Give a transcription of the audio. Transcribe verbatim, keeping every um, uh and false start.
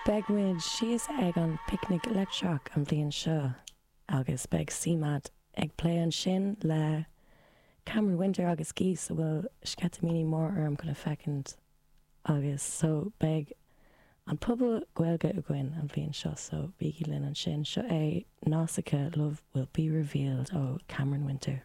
Beidh muid síos ag an Picnic Leictreach an bhliain seo agus beidh CMAT ag plé ansin le Cameron Winter agus Geese a bhfuil sceitimíní mór orm chun a fheiceáil agus so beidh an puball Gaeilge againn an bhliain seo so bígí linn ansin seo é Nausicaa Love Will Be Revealed ó Cameron Winter.